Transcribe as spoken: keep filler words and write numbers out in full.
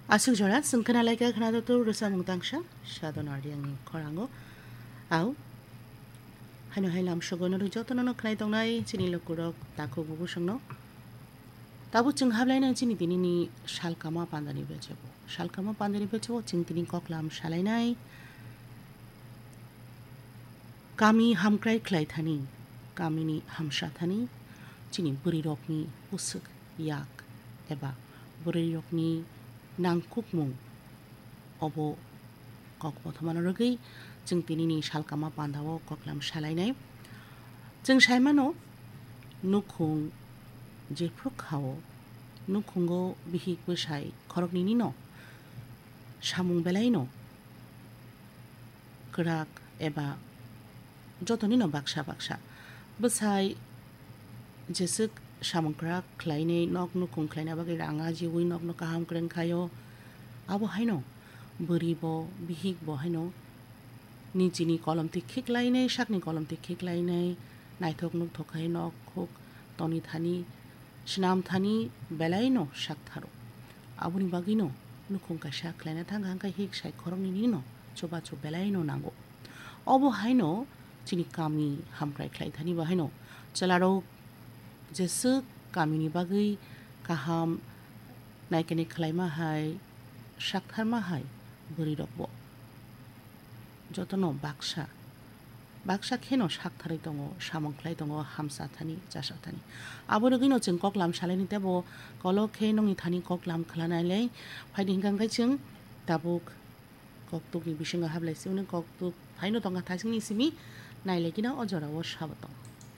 Aswk jora chwng khna lai kha khna do tu rwchapmung tangsa Sadona Reangni khorango. Au, haino hai lamsogo norok jotono no khnai tongnai chini lukurok takhuk bubu songno. Tabuk chwng hablainai chini tinini salkama pandani bechebo. Salkama pandani bechebo chwng tini koklam salainai. Kami hamkrai khlai thani, kamini hamsa thani, chini bwrwirokni bwswk yak eba bwrwirokni nangkukmung obo kok bothomano rwgwi chwng tinini salkama pandao koklam salainai. Chwng saimano nukhung jephru khao, nukhungo bihik bwsai khoroknwino samung belaino kwrak eba jotonino baksa baksa. Bwsai jeswk samung kwrak khlainai, nok nukhung khlaina bagwi rang ajiwi nokno kaham kwrwng khaio. Abo haino bwrwi bo, bihik bo haino nijini kolomtwi khiklainai, sakni kolomtwi khiklainai, naithok nukthok khai nok huk toni thani, swnam thani belaino sak tharo. Aboni bagwino nukhung kaisa khlaina thang kha, hwnkhe hik sai khoroknwino chubachu belaino nango. Obo haino chini kami hamkrai khlai thani bo haino chwlarok jeswk kamini bagwi kaham naikani khlaima hai, saktharma hai bwrwirokbo jotono baksa, baksa kheno saktharwi tongo, samung khlai tongo, hamsa thani, chasa thani. Abo rwgwino chwng koklam salaini teibo kolok khe nokni thani koklam khwlanailai phaidi hwnkha hwnkhe chwng tabuk koktukni bisingo hablai siboni koktuk phaino tongkha thaichingni simi nailaikino o jorao sabo tong.